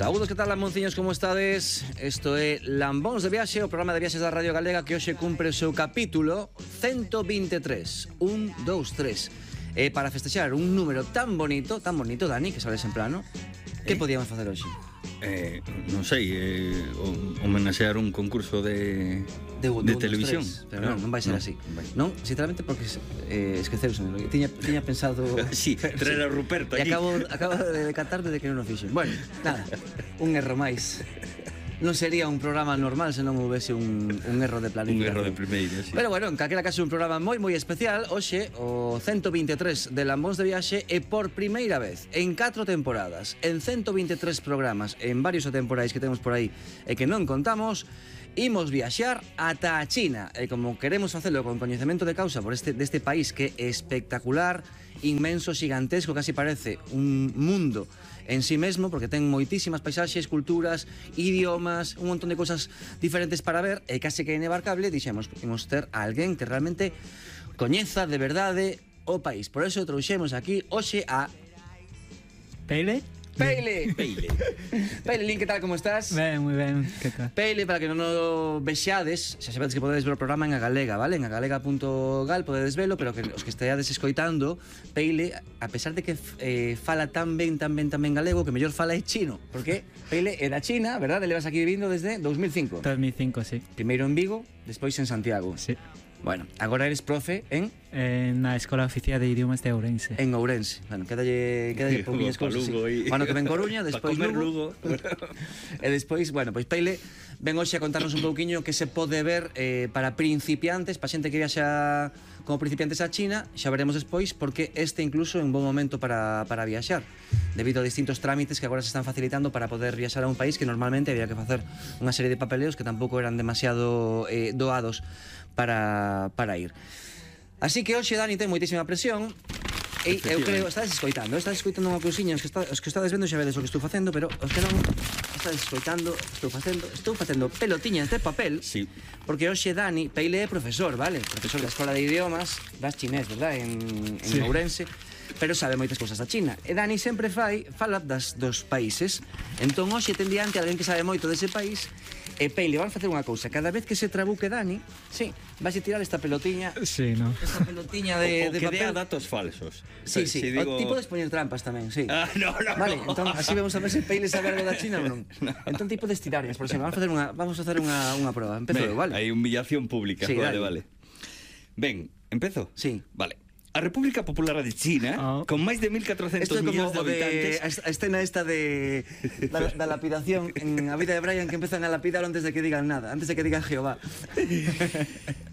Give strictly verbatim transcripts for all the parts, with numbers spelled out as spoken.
Saúdos, que tal, lambonciños, como estades? Isto é Lambóns de Viaxe, o programa de viaxes da Radio Galega que hoxe cumpre o seu capítulo ciento vinte e tres. Un, dous, tres. E para festexar un número tan bonito, tan bonito, Dani, que sales en plano, que eh? podíamos facer hoxe? Eh, non sei, eh, homenaxear un concurso de, de, de, de televisión. Pero non, non vai ser no, así. Vai. Non, sinceramente, porque eh, esqueceuse. Tiña, tiña pensado... Sí, traer a Ruperto aquí. E aquí. acabo, acabo de decatarme de que non o fixen. Bueno, nada, un erro máis. Non sería un programa normal se non houvese un, un erro de planificación. Un erro de primeiro, sí. Pero bueno, en calquera caso un programa moi moi especial. Hoxe, o ciento vinte e tres de Lambóns de Viaxe, e por primeira vez en catro temporadas, en ciento vinte e tres programas, en varios temporais que temos por aí e que non contamos, imos viaxar ata a China. E como queremos facelo con coñecemento de causa por este, deste país que é espectacular, inmenso, gigantesco, casi parece un mundo en sí mesmo, porque ten moitísimas paisaxes, culturas, idiomas, un montón de cosas diferentes para ver, e case que é inebarcable, dixemos, imos ter a alguén que realmente coñeza de verdade o país. Por eso trouxemos aquí hoxe a... Peile? Peile! Peile. Peile, Lin, que tal, como estás? Ben, moi ben, que tal? Peile, para que non o vexades, xa sabedes que podedes ver o programa en Agalega, vale? En agalega punto gal podedes velo, pero que os que esteades escoitando, Peile, a pesar de que eh, fala tan ben, tan ben, tan ben galego, que mellor fala é chino, porque Peile é da China, verdad? Levas aquí vivindo desde dos mil cinco. dos mil cinco, sí. Primeiro en Vigo, despois en Santiago. Sí. Bueno, agora eres profe en... En na Escola Oficial de Idiomas de Ourense. En Ourense. Bueno, quédalle, quédalle pouquinhas cousas, sí. Bueno, que ven Coruña, despois Lugo. E despois, bueno, pois Peile ven hoxe a contarnos un pouquiño que se pode ver eh, para principiantes, para xente que viaxa como principiantes a China. Xa veremos despois, porque este incluso é un bon momento para, para viaxar, debido a distintos trámites que agora se están facilitando para poder viaxar a un país que normalmente había que facer unha serie de papeleos que tampouco eran demasiado eh, doados para, para ir. Así que hoxe Dani ten moitísima presión. E eu creo, estades escoitando, estades escoitando unha cousiña, os que, está, os que estades vendo xa vedes o que estou facendo, pero os que non estades escoitando, estou facendo, estou facendo pelotiñas de papel. Sí. Porque hoxe Dani, Peile é profesor, vale? Profesor da Escola de Idiomas das chinés, verdad? En, en sí. Ourense, pero sabe moitas cousas da China. E Dani sempre fai, fala das, dos países. Entón hoxe ten diante alguén que sabe moito dese país. E Peile, van facer unha cousa. Cada vez que se trabuque Dani, sí, vais a tirar esta pelotiña. Sí, no. Esta pelotiña de, o, o de que papel. dea datos falsos. Sí, sí, si o digo... tipo de poñer trampas tamén, sí. Ah, no, no, Vale, no. entón así vamos a ver se Peile sabe algo da China ou non. No. Entón tipo de estirarias, por exemplo, vamos a facer unha vamos a facer unha unha proba. Empezo eu, vale? Hai humillación pública, Sí, vale, dale. vale. Ben, empezo? Sí. Vale. A República Popular de China, Oh. con máis de mil catrocentos Esto é como millóns de o de habitantes... a escena esta de da, da lapidación en A vida de Brian, que empezan a lapidar antes de que digan nada, antes de que digan Jehová.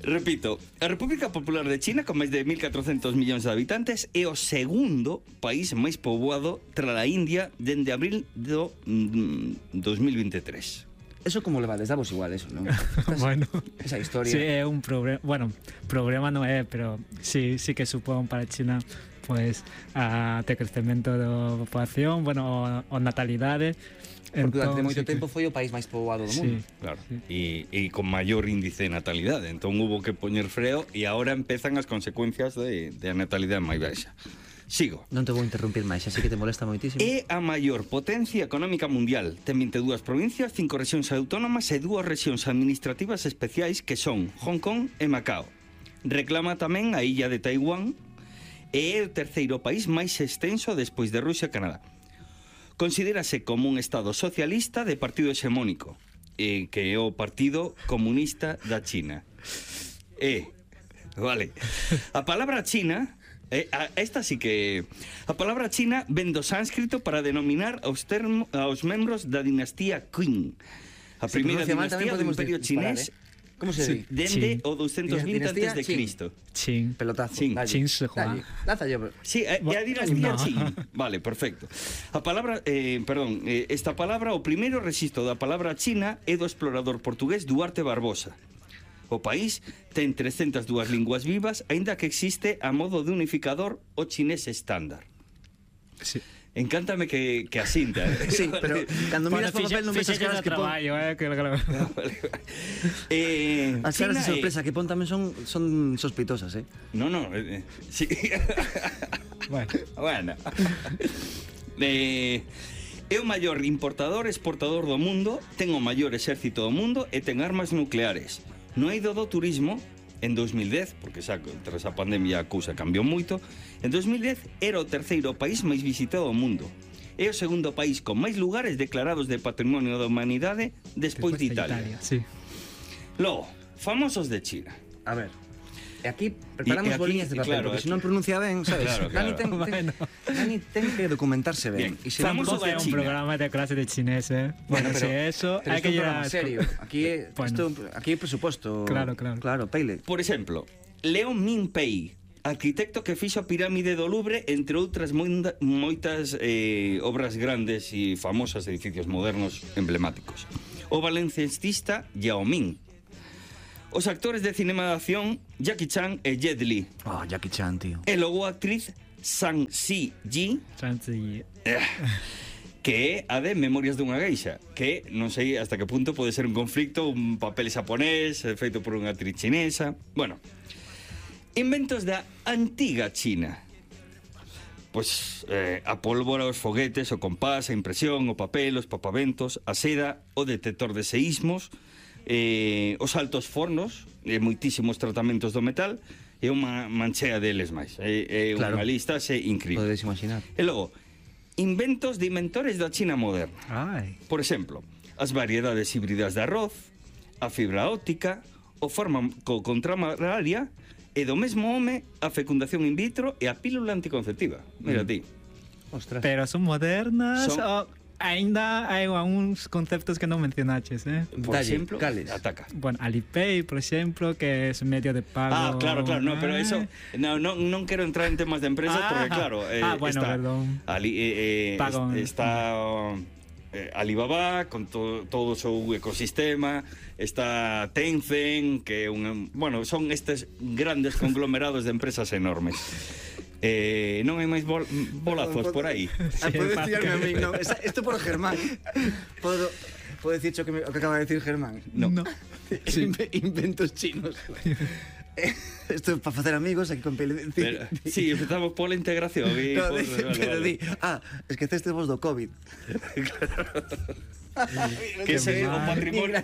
Repito, a República Popular de China, con máis de mil catrocentos millóns de habitantes, é o segundo país máis poboado tras a India dende abril do mm, dos mil vinte e tres. Eso como levades, damos igual eso, non? Estás, Bueno, esa historia. sí, é un problema, bueno, problema non é, pero sí, sí que supón para China pues a te crecemento da poboación, bueno, o, o natalidade. Porque durante Entón, moito sí que- tempo foi o país máis poboado do mundo. Sí. Claro, Sí. e, e con maior índice de natalidade. Entón hubo que poñer freo e agora empezan as consecuencias de, de a natalidade máis baixa. Sigo. Non te vou interrumpir máis, así que te molesta moitísimo. É a maior potencia económica mundial. Ten vinte e dúas provincias, cinco rexións autónomas e dúas rexións administrativas especiais que son Hong Kong e Macao. Reclama tamén a illa de Taiwán e é o terceiro país máis extenso despois de Rusia e Canadá. Considérase como un estado socialista de partido hexemónico, eh, que é o Partido Comunista da China. E, vale, a palabra China... Eh, a, esta sí que... A palabra china ven do sánscrito para denominar aos, termo, aos membros da dinastía Qing. A Se primeira pronuncia mal, tamén dinastía do podemos Imperio disparar, chinés, eh? Como se di? dende Qing. o doscientos vinte Dinastía antes de Qing. Cristo. Chin. Pelotazo. Qing. Dalle, Qing Shi Huang. dalle. Lánzalle. Sí, é a dinastía No. Qing. Vale, perfecto. A palabra, eh, perdón, eh, esta palabra, o primeiro rexistro da palabra china é do explorador portugués Duarte Barbosa. O país ten trescentas e dúas linguas vivas, aínda que existe a modo de unificador o chinés estándar. Sí. Encántame que, que asinta. Eh? Sí, pero cando miras por papel non ves as caras que pon. traballo, eh, que, que, Ah, vale, vale. Eh, As caras de China sorpresa é- que pon tamén son son sospitosas, eh. No, no, eh, eh, sí. Bueno. Bueno. Eh, É o maior importador e exportador do mundo, ten o maior exército do mundo e ten armas nucleares. No eido do turismo, en dos mil dez, porque xa tras a pandemia a cousa cambiou moito, en dos mil dez era o terceiro país máis visitado do mundo. É o segundo país con máis lugares declarados de Patrimonio da Humanidade despois, despois de Italia. De Italia sí. Logo, famosos de China. A ver, e aquí preparamos e, e aquí, boliñas de papel, claro, porque se non pronuncia ben, sabes? Claro, claro. Dani, ten, ten, Dani ten que documentarse ben. Bien. E se Famoso de de un China. programa de clase de chinés, eh. Bueno, pero, si eso, pero hay que ir llegar a serio. Aquí, bueno. esto, aquí hai presupuesto. Claro, claro. Claro, Peile. Por exemplo, Leo Min-pei, arquitecto que fixo a pirámide do Louvre, entre outras moita, moitas eh, obras grandes e famosas, edificios modernos emblemáticos. O valencianista Yao Ming. Os actores de cinema de acción Jackie Chan e Jet Li. Oh, Jackie Chan, tío. E logo a actriz Zhang Ziyi, eh, que é a de Memorias dunha Geisha, que non sei hasta que punto pode ser un conflicto, un papel xaponés feito por unha actriz chinesa. Bueno, inventos da antiga China. Pois eh, a pólvora, os foguetes, o compás, a impresión, o papel, os papaventos, a seda, o detector de seísmos, eh, os altos fornos, e moitísimos tratamentos do metal, e unha manchea deles máis. É, é claro. Unha lista xe incrível. Podedes imaginar. E logo, inventos de inventores da China moderna. Ai. Por exemplo, as variedades híbridas de arroz, a fibra óptica, o fármaco contra a malaria, e do mesmo home a fecundación in vitro e a pílula anticonceptiva. Mira mm. ti. Ostras. Pero son modernas son... o ainda hai uns conceptos que non mencionaches, eh? Por Dalle, exemplo, cales? ataca. Bueno, Alipay, por exemplo, que es medio de pago. Ah, claro, claro, no, pero eso no, no, non quero entrar en temas de empresas ah, porque claro, eh, ah, bueno, está perdón. Ali, eh, eh, Pago. está eh, Alibaba con to, todo o seu ecosistema, está Tencent, que é un, bueno, son estes grandes conglomerados de empresas enormes. Eh, non hai máis bol, bolazos por aí. Sí, podes tirarme a mí, no, isto por Germán. Podo, podo dicir que me, o que acaba de decir Germán. No. no. Sí. Inventos chinos. Isto é para facer amigos aquí con Pele. Pero, sí, empezamos pola integración e no, por, de, vale, pero vale. di, ah, esqueceste vos do COVID. Que é o patrimonio.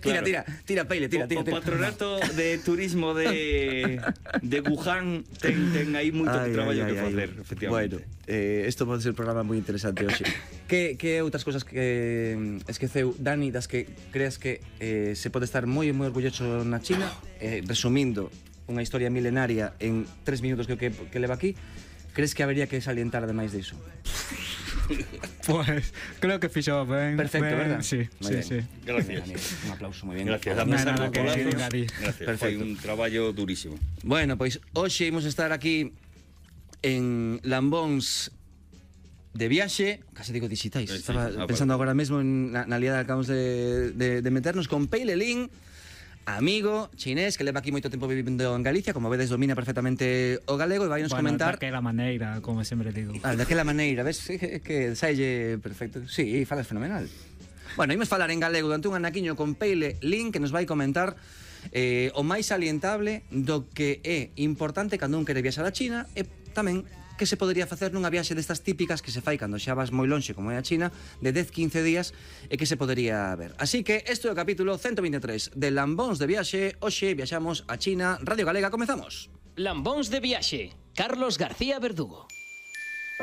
Tira, tira, tira, Peile, tira, tira. O, o patronato de turismo de de Wuhan ten, ten aí moito ay, traballo ay, que facer, ay. Efectivamente. Bueno, eh, isto pode ser un programa moi interesante hoxe. que, que outras cousas que esqueceu Dani das que creas que eh, se pode estar moi moi orgulloso na China, eh, resumindo unha historia milenaria en tres minutos que, que, que leva aquí, crees que habería que salientar ademais diso? Pues creo que fixo ben. Perfecto, ben, verdad? Sí, sí, sí. Gracias. Un aplauso moi bien. Gracias. No, Gracias. nada, que Gracias. Foi un traballo durísimo. Bueno, pois hoxe imos estar aquí en Lambóns de viaxe, case digo digitais. Sí, Estaba sí, pensando agora mesmo en, na, na liada que acabamos de, de, de meternos con Peile Lin, amigo chinés que leva aquí moito tempo vivindo en Galicia, como vedes domina perfectamente o galego e vai nos bueno, comentar daquela maneira, como sempre digo. Ah, daquela maneira, ves que, que saille perfecto. Sí, falas fenomenal. Bueno, imos falar en galego durante un anaquiño con Peile Lin, que nos vai comentar eh, o máis salientable do que é importante cando un quere viaxar a China e tamén que se podería facer nunha viaxe destas típicas que se fai cando xa vas moi lonxe como é a China, de dez a quince días e que se podería ver. Así que este é o capítulo ciento vinte e tres de Lambóns de viaxe. Hoxe viaxamos a China. Radio Galega, comezamos. Lambóns de viaxe, Carlos García Verdugo.